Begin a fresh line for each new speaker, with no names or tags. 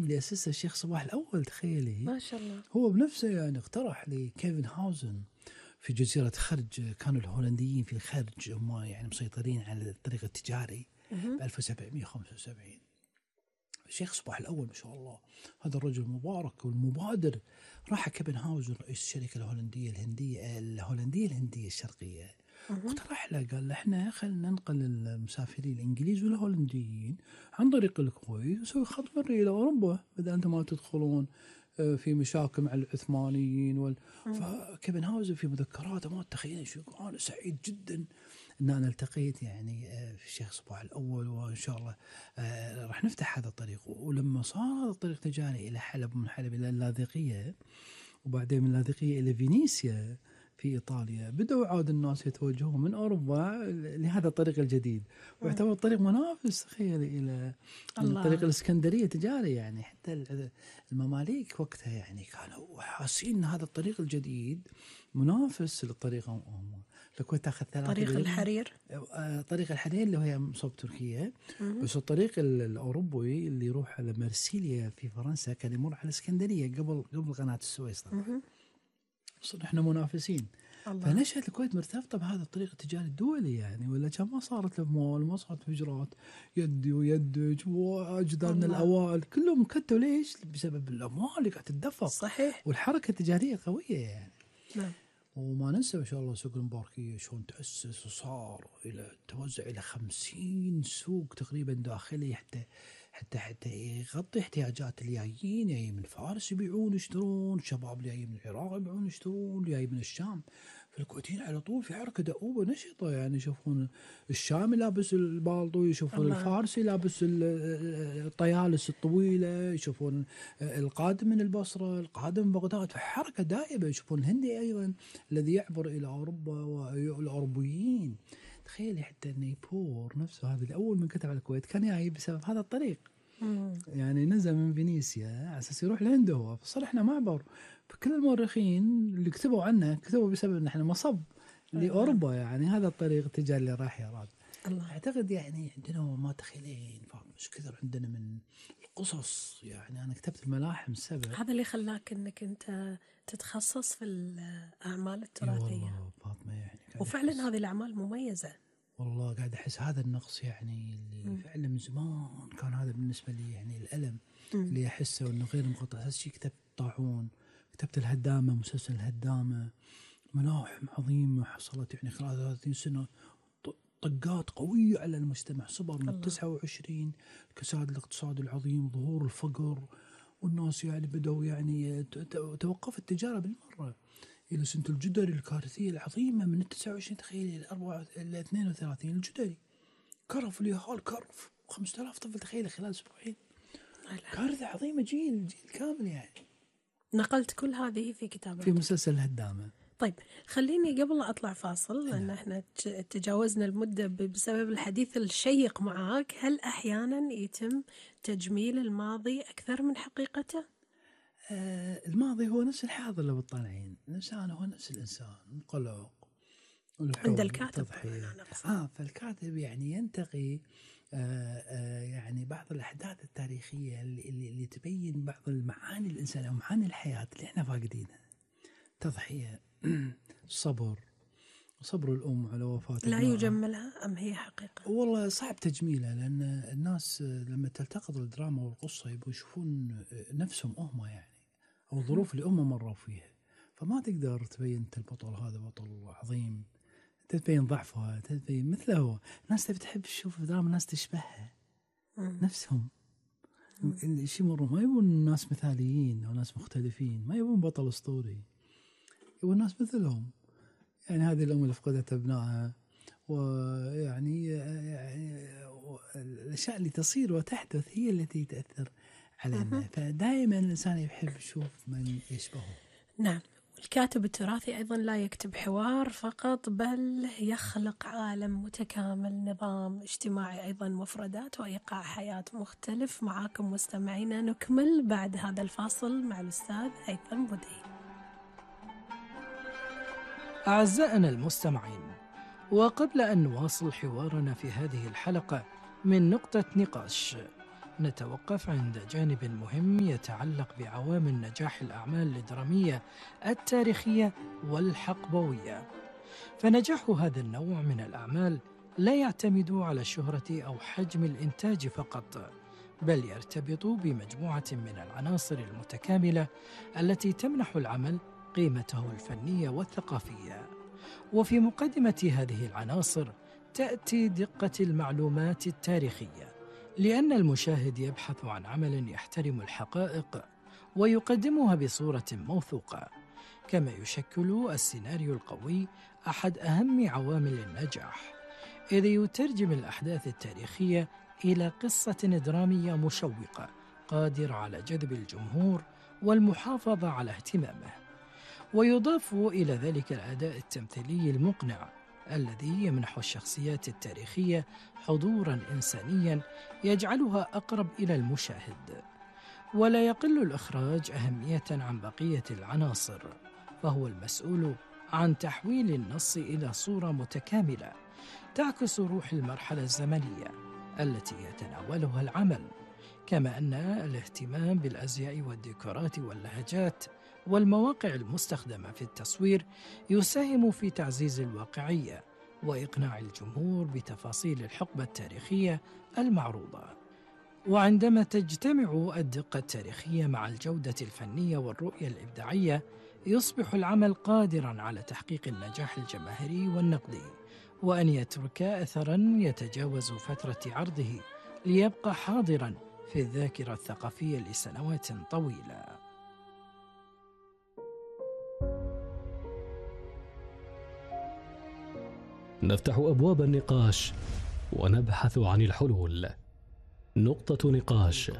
اللي أسسه الشيخ صباح الأول، تخيلي.
ما شاء الله.
هو بنفسه يعني اقترح لكيفن هاوزن في جزيرة خرج. كانوا الهولنديين في الخرج هم يعني مسيطرين على الطريق التجاري ب 1775. الشيخ صباح الأول ما شاء الله هذا الرجل المبارك والمبادر راح كيفن هاوزن رئيس الشركة الهولندية الهندية الشرقية، واقترح له قال له احنا خلينا ننقل المسافرين الانجليز والهولنديين عن طريق الكويت ونسوي خط بري الى اوروبا بدل انتم ما تدخلون في مشاكل مع العثمانيين فكيفن هاوزن في مذكراته ما تخيل شو، انا سعيد جدا ان انا التقيت يعني في الشيخ صباح الاول، وان شاء الله راح نفتح هذا الطريق. ولما صار هذا الطريق تجاري الى حلب ومن حلب الى اللاذقيه وبعدين من اللاذقيه الى فينيسيا في إيطاليا، بدأوا عاد الناس يتوجهون من أوروبا لهذا الطريق الجديد، ويعتبر طريق منافس تخيل إلى الطريق الإسكندرية تجاري. يعني حتى المماليك وقتها يعني كانوا حاسين أن هذا الطريق الجديد منافس للطريق الكويت تأخذ 3
طريق الحرير.
طريق الحرير اللي هي مصوب تركيا، بس الطريق الأوروبي اللي يروح على مرسيليا في فرنسا كان يمر على الإسكندرية قبل قناة السويس طبعا. صرنا احنا منافسين. فنشأت الكويت مرتبطة بهذا الطريق التجاري الدولي يعني، ولا كان ما صارت الأموال ما صارت هجرات يدي ويدج وأجدادنا الأوائل كلهم كتوا. ليش؟ بسبب الأموال اللي قاعدة تدفق.
صحيح.
والحركة التجارية قوية يعني.
نعم.
وما ننسى ما شاء الله سوق المباركية شلون تأسس وصار إلى توزع إلى 50 سوق تقريبا داخلي حتى يغطي احتياجات الجايين جاي من فارس يبيعون يشترون، شباب جاي من العراق يبيعون يشترون، جاي من الشام. فالكويتيين على طول في حركة دؤوبة نشطة يعني، يشوفون الشامي لابس البالطو، يشوفون الفارسي لابس الطيالس الطويلة، يشوفون القادم من البصرة القادم من بغداد، فحركة دائبة. يشوفون الهندي أيضا الذي يعبر إلى أوروبا والأوروبيين. تخيلي حتى نيبور نفسه هذا الأول من كتب على الكويت كان جاي بسبب هذا الطريق. يعني نزل من فينيسيا على أساس يروح لهند هو، فصار إحنا معبر. فكل المؤرخين اللي كتبوا عنه كتبوا بسبب إن إحنا مصب لأوروبا يعني هذا الطريق التجاري اللي راح يراد. أعتقد يعني عندنا ما تخيلين مش كثر عندنا من القصص يعني. أنا كتبت الملاحم 7.
هذا اللي خلاك إنك أنت تتخصص في الأعمال التراثية.
فاطمة يعني
وفعلا هذه الأعمال مميزة.
والله قاعد أحس هذا النقص يعني اللي فعلا من زمان كان هذا بالنسبة لي يعني الألم اللي أحسه إنه غير مقطع. أساس شيء كتبت طاعون، كتبت الهدامة، مسلسل الهدامة، ملاحم عظيمة حصلت يعني خلال 30 سنة طقات قوية على المجتمع. صبر من 29 الكساد الاقتصادي العظيم، ظهور الفقر، والناس يعني بدأوا يعني توقف التجارة بالمرة إلى سنة الجدري الكارثية العظيمة من 29 تخيل إلى 32 الجدري كرف اليهال كرف 5000 طفل تخيل خلال أسبوعين. كارثة عظيمة جيل كامل يعني.
نقلت كل هذه في كتابك
في مسلسل الهدامة.
طيب خليني قبل لا أطلع فاصل لأن احنا تجاوزنا المدة بسبب الحديث الشيق معك، هل أحيانا يتم تجميل الماضي أكثر من حقيقته؟
الماضي هو نفس الحاضر لو تطلعين. الإنسان هو نفس الإنسان مقلق
عند الكاتب.
فالكاتب يعني ينتقي يعني بعض الأحداث التاريخية اللي تبين بعض المعاني الإنسانية ومعاني الحياة اللي احنا فاقدينها. تضحية، صبر الأم على وفاة
لا يجملها أم هي حقيقة؟
والله صعب تجميلها، لأن الناس لما تلتقط الدراما والقصة يبقوا يشوفون نفسهم هم يعني، أو الظروف اللي هم مروا فيها. فما تقدر تبين أنت البطل هذا بطل عظيم، تبين ضعفها، تبين مثله. الناس تحب تشوف دراما الناس تشبهها نفسهم. الشيء مرة ما يبون ناس مثاليين أو ناس مختلفين، ما يبون بطل أسطوري، يبون ناس مثلهم. يعني هذه الأم اللي فقدت أبنائها، ويعني الأشياء اللي تصير وتحدث هي التي تأثر علينا. فدائما الإنسان يحب يشوف من يشبهه.
نعم. الكاتب التراثي أيضا لا يكتب حوار فقط، بل يخلق عالم متكامل، نظام اجتماعي أيضا، مفردات وإيقاع حياة مختلف. معاكم مستمعينا نكمل بعد هذا الفاصل مع الأستاذ هيثم بودي.
أعزائنا المستمعين، وقبل أن نواصل حوارنا في هذه الحلقة من نقطة نقاش، نتوقف عند جانب مهم يتعلق بعوامل نجاح الأعمال الدرامية التاريخية والحقبوية. فنجاح هذا النوع من الأعمال لا يعتمد على الشهرة أو حجم الإنتاج فقط، بل يرتبط بمجموعة من العناصر المتكاملة التي تمنح العمل قيمته الفنية والثقافية. وفي مقدمة هذه العناصر تأتي دقة المعلومات التاريخية، لأن المشاهد يبحث عن عمل يحترم الحقائق ويقدمها بصورة موثوقة، كما يشكل السيناريو القوي أحد أهم عوامل النجاح، إذ يترجم الأحداث التاريخية إلى قصة درامية مشوقة قادرة على جذب الجمهور والمحافظة على اهتمامه. ويضاف إلى ذلك الأداء التمثيلي المقنع الذي يمنح الشخصيات التاريخية حضوراً إنسانياً يجعلها أقرب إلى المشاهد. ولا يقل الإخراج أهمية عن بقية العناصر، فهو المسؤول عن تحويل النص إلى صورة متكاملة تعكس روح المرحلة الزمنية التي يتناولها العمل، كما أن الاهتمام بالأزياء والديكورات واللهجات والمواقع المستخدمة في التصوير يساهم في تعزيز الواقعية وإقناع الجمهور بتفاصيل الحقبة التاريخية المعروضة. وعندما تجتمع الدقة التاريخية مع الجودة الفنية والرؤية الإبداعية، يصبح العمل قادراً على تحقيق النجاح الجماهيري والنقدي، وأن يترك أثراً يتجاوز فترة عرضه ليبقى حاضراً في الذاكرة الثقافية لسنوات طويلة.
نفتح أبواب النقاش ونبحث عن الحلول. نقطة نقاش